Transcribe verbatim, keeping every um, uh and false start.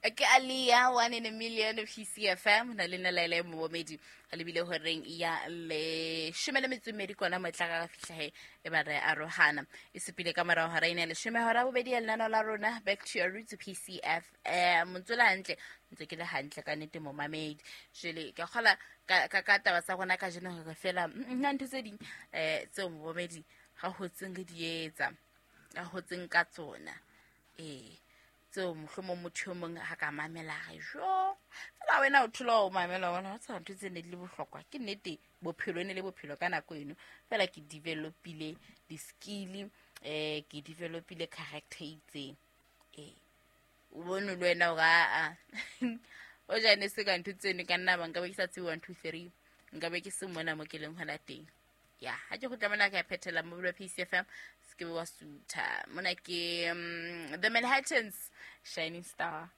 Ke Alia, one in a million, P C F M na le nna Laela Momedi a lebile horeng ya leshome le metso e mmedi kona motla ka fihla he e ba re arohana e supile ka morao hora ena ya leshome hora bobedi ya lenaneo la rona Back to Your Roots, P C F M. Ntse le hantle, ntse ke le hantle ka nnete, momamedi. Jwale ke kgola ka ka ka taba tsa rona kajeno hore fela mm, nna ntho tse ding um tseo momamedi ga hotseng re di etsa, ga hotseng ka tsona, ee, tseo mohlomong motho yo mongwe ga ka mamela re jo fela wena o thola o mamela bona o tseba ntho tse ne di le bohlokwa. Ke nnete, bophelo e ne le bophelo ka nako eno, fela ke developile di-skill, um ke developile character e itseng. Ee, o bone le wena gore aa o jane se ka ntho tseno ka nna ba nka be ke sa tsebe one two three, nka be ke se mona mo ke leng hona teng. Ya ha ke kgutla mona ka phethela mobile wa P C F M, se ke be wa sutha mona. Ke um, The Manhattans, Shining Star.